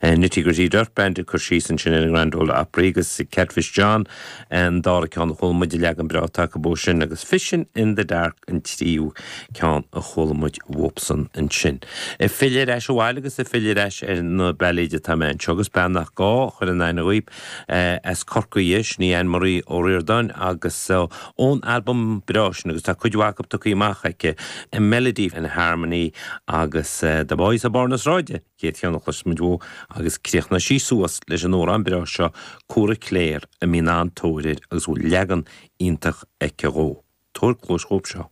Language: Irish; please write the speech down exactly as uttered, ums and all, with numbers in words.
Nitty Gritty Dirt Band ag cur síos ansin ar an Grand Ole Opry agus Catfish John an dara ceann a chuala muid leagan breá acu ó sin agus Fishing in the Dark an tríú ceann a chuala muid uathubsan ansin. Ag filleadh ar ais abhaile agus ag filleadh ar ais ar na bailéid atá mé anseo agus bean nach gá a chur in aithne dhaoibh as Corcaigh sin í Anne Marie Ó Ríordáin agus ón albam breá sin agus tá cuid mhaith acu tugtha amach aici A Melody and Harmony agus The Boys of Barr na Sráide chéad cheann a chloisfidh muid uaithi agus críochnóidh sí suas leis an amhrán breá seo Cora Claire a mbíonn an-tóir air agus bhfuil leagan iontach aici dhó. Tabhair cluas dhóibh seo.